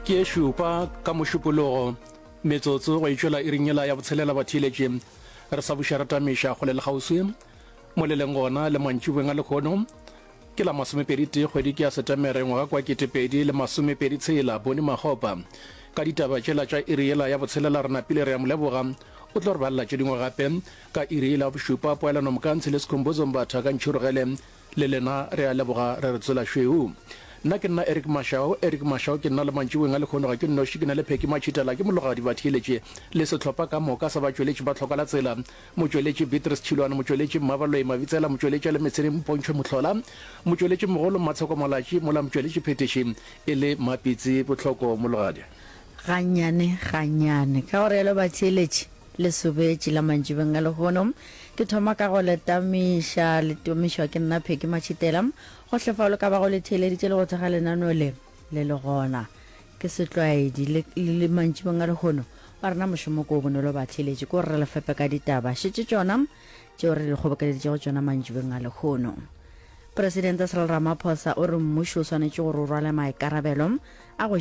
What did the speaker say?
Ke e šupa ka Mošupologo, metsotso go e tšwela iring yela ya botshelela batheeletši. Re sa buša re tamiša kgole le kgauswi mo le leng gona le mantšiboeng a lehono. Ke la masomepedi tee kgwedi ke ya Setemere ngwaga kwa 2026. Boni Makgopa ka ditaba tšela tša iri yela ya botshelela re napile re a mo leboga. O tlo re balela tše dingwe gape ka iri yela ya bošupa. Poelano Mokantshi le Skhumbuzo Mbatha ka Ntšhirogele Le lena re a leboga re re tsela šweu. Nna ke nna Eric Mashau, Eric Mashau ke nna le mantšiboeng a lehono ga ke nnoši ke na le Phecky Matšhitela ke mologadi batheeletši le sehlopha ka moka sa batšweletši ba Tlhoka la Tsela, motšweletši Beatrice Tšhilwane, motšweletši Mmabaloi Mabitsela, motšweletši a le metshene Mpontšhwe Mohlola, motšweletši mogolo Mmatsheko Malatši mola motšweletši phethiši e le Mmapitsi Bohloko Mologadi. Gannyane gannyane. Ka go realo batheeletši, Le sobetše la mantšibeng a lehono. Ke thoma ka go le tamiša, le tumišwa ke nna Peggy Matšhitela. Gohle fao le ka bago le theeleditše le go thekga lenaneo le, le le gona. Ke setlwaedi, le, le, le mantšibeng a lehono. Wa rena mošomo ke o bonolo batheeletši, ke gore re le fepe ka ditaba. Šetše tšona tšeo re le kgobokeleditšego tšona mantšibeng a lehono. Presidente Cyril Ramaphosa o re mmušo o swanetše gore o rwale maikarabelo a go.